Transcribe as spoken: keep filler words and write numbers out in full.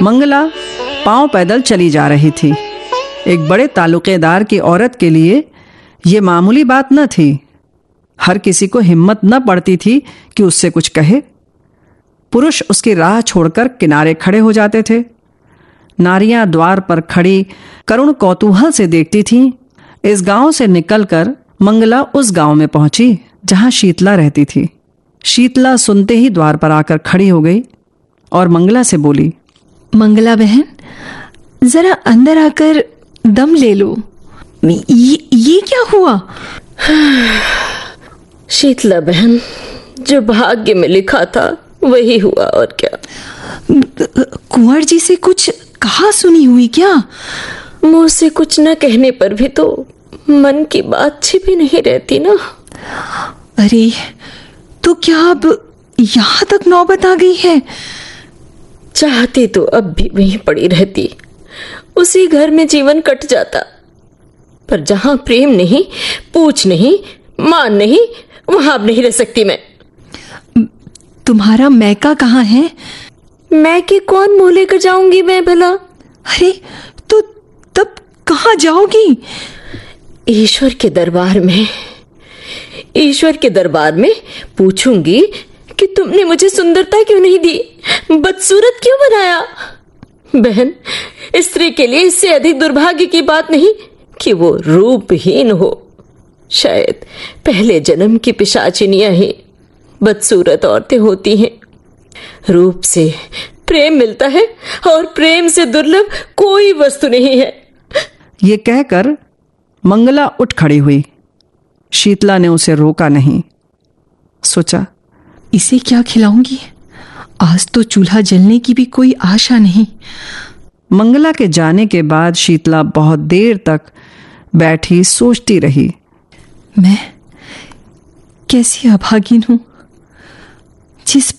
मंगला पांव पैदल चली जा रही थी। एक बड़े ताल्लुकेदार की औरत के लिए ये मामूली बात न थी। हर किसी को हिम्मत न पड़ती थी कि उससे कुछ कहे। पुरुष उसकी राह छोड़कर किनारे खड़े हो जाते थे। नारियां द्वार पर खड़ी करुण कौतूहल से देखती थीं। इस गांव से निकलकर मंगला उस गांव में पहुंची, जहां शीतला रहती थी। शीतला सुनते ही द्वार पर आकर खड़ी हो गई और मंगला से बोली। मंगला बहन, जरा अंदर आकर दम ले लो। ये, ये क्या हुआ? शीतला बहन, जो भाग्य में लिखा था, वही हुआ, और क्या। कुंवर जी से कुछ कहा सुनी हुई क्या? मुंह से कुछ न कहने पर भी तो मन की बात छिपी नहीं रहती ना। अरे, तो क्या अब यहाँ तक नौबत आ गई है? चाहती तो अब भी वहीं पड़ी रहती, उसी घर में जीवन कट जाता, पर जहां प्रेम नहीं, पूछ नहीं, मान नहीं, वहां अब नहीं रह सकती मैं। तुम्हारा मैका कहाँ है? मैके कौन मुंह लेकर जाऊंगी मैं भला? अरे, तो तब कहाँ जाओगी? ईश्वर के दरबार में, ईश्वर के दरबार में पूछूंगी कि तुमने मुझे सुंदरता क्यों नहीं दी, बदसूरत क्यों बनाया। बहन, स्त्री के लिए इससे अधिक दुर्भाग्य की बात नहीं कि वो रूपहीन हो। शायद पहले जन्म की पिशाचिनियां ही बदसूरत औरतें होती हैं। रूप से प्रेम मिलता है और प्रेम से दुर्लभ कोई वस्तु नहीं है। ये कहकर मंगला उठ खड़ी हुई। शीतला ने उसे रोका नहीं। सोचा, इसे क्या खिलाऊंगी? आज तो चूल्हा जलने की भी कोई आशा नहीं। मंगला के जाने के बाद शीतला बहुत देर तक बैठी सोचती रही। मैं कैसी अभागिन हूं, जिस